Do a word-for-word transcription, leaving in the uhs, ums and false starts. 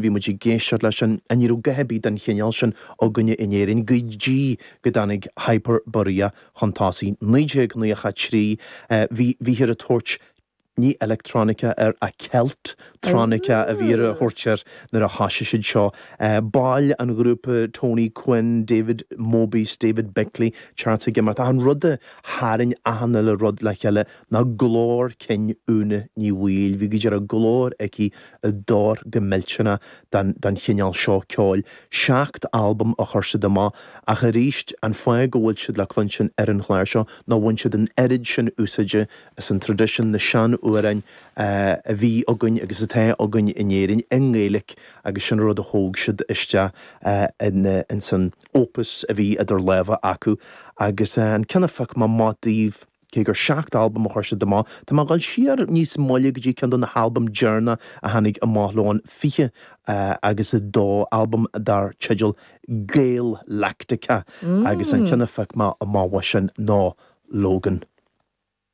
Bhí muid ag éisteacht leis sin ní raibh a dhath ar bith den chineál sin againne in Éirinn go dtí go dtáinig Hyperborea chun tosaigh. naoi déag nócha trí bhí bhíthear ag tabhairt ní electronica air ach Celt-tronica a bhí á thabhairt air nuair a thosaigh siad seo. Baill an ghrúpa Tony Quinn, David Mobius, David Bickley, Charles ag imeacht. Ach an rud a tharraing achan uile rud le chéile ná glór cinn Úna Ní Bhaoill. Bhí go deo glór aici a d'oir go millteanach don don chineál seo ceoil. Seacht albam a chuir siad amach ach arís an fáth go bhfuil siad le cluinstin ar an chlár seo ná bhain siad an oiread sin úsáide as an traidisiún na sean-amhráin a bhí againn agus atá againn in Éirinn i nGaeilge agus sin rud a thóg siad isteach in in san opus a bhí idir lámha acu agus an ceann a phioc mé amach daoibh cé gur seacht albam a chuir siad amach, Tá mé ag dul siar níos moille go dtí ceann de na halbaim deireanach a tháinig amach leo an fiche agus a dó albam dar teideal Gael-lactica agus an ceann a phioc mé amach sin ná Logan.